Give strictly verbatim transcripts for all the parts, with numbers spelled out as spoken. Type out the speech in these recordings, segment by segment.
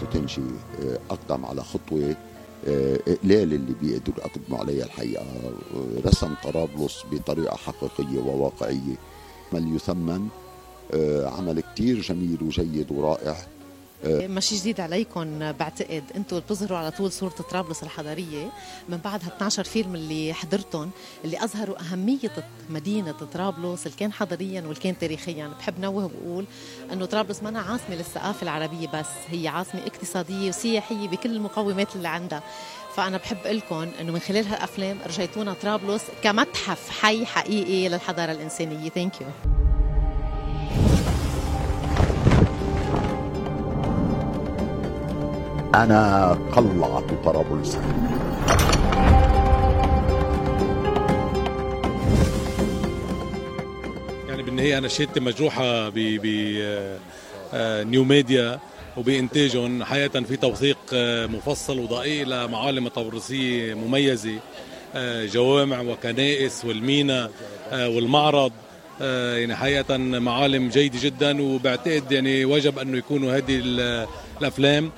توتنجي أقدم على خطوة قلال اللي بيقدروا يقدموا عليها الحقيقة. رسم طرابلس بطريقة حقيقية وواقعية، عمل يثمن، عمل كتير جميل وجيد ورائع. ماشي جديد عليكم، بعتقد انتوا بتظهروا على طول صورة طرابلس الحضارية من بعد ها اثني عشر فيلم اللي حضرتهم، اللي أظهروا أهمية مدينة طرابلس اللي كان حضاريا واللي كان تاريخيا. بحب نوه وبقول أنه طرابلس ما أنا عاصمة للثقافة العربية بس، هي عاصمة اقتصادية وسياحية بكل المقومات اللي عندها. فأنا بحب لكم أنه من خلال هالأفلام رجعتونا طرابلس كمتحف حي حقيقي للحضارة الإنسانية. ثانك يو. أنا قلعت طرابلس. يعني بالنهاية أنا شهادتي مجروحة ب نيو ميديا وبإنتاجهم. حقيقة في توثيق مفصل ودقيق لمعالم طرابلسية مميزة، جوامع وكنائس والمينا والمعرض، يعني حقيقة معالم جيدة جدا. وبعتقد يعني وجب أنه يكونوا هذه الأفلام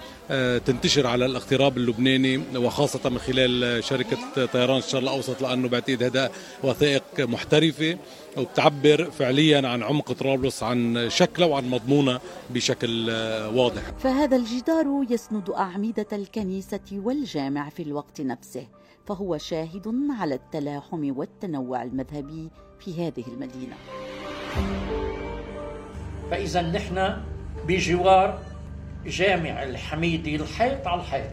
تنتشر على الاغتراب اللبناني، وخاصة من خلال شركة طيران الشرق الأوسط، لأنه بعتقد هذا وثائق محترفة وبتعبر فعليا عن عمق طرابلس، عن شكله وعن مضمونه بشكل واضح. فهذا الجدار يسند أعمدة الكنيسة والجامع في الوقت نفسه، فهو شاهد على التلاحم والتنوع المذهبي في هذه المدينة. فإذا نحن بجوار جامع الحميدي، الحيط على الحيط.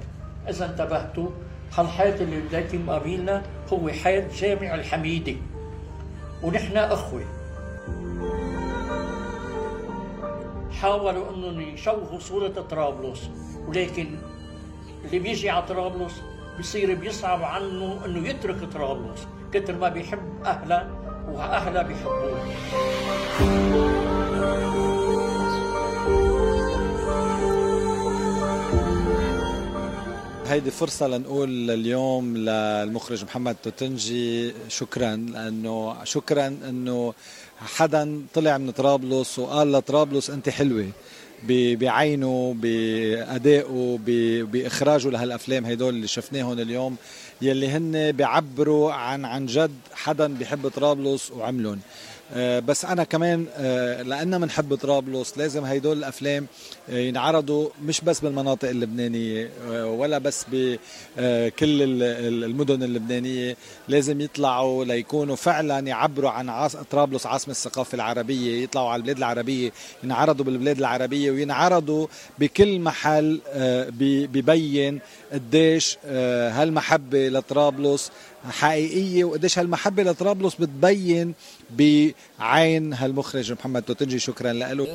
إذا انتبهتوا، هالحيط اللي بدايتي مقابلنا هو حيط جامع الحميدي، ونحن أخوة. حاولوا أنهم يشوهوا صورة طرابلس، ولكن اللي بيجي على طرابلس بيصير بيصعب عنه أنه يترك طرابلس كتر ما بيحب أهله وأهله بيحبوه. هيدي فرصة لنقول اليوم للمخرج محمد توتنجي شكرا، لأنه شكرا أنه حدا طلع من طرابلس وقال لطرابلس أنت حلوة بعينه، بأدائه، بإخراجه لهالأفلام هيدول اللي شفناهم اليوم، يلي هن بيعبروا عن عن جد حدا بيحب طرابلس وعملهم. بس أنا كمان لأننا منحب طرابلس لازم هيدول الأفلام ينعرضوا مش بس بالمناطق اللبنانية ولا بس بكل المدن اللبنانية، لازم يطلعوا ليكونوا فعلا يعبروا عن طرابلس عاصمة الثقافة العربية، يطلعوا على البلاد العربية، ينعرضوا بالبلاد العربية، وينعرضوا بكل محل ببين قديش هالمحبة لطرابلس حقيقية، وقديش هالمحبة لطرابلس بتبين بعين هالمخرج محمد توتنجي. شكرا له.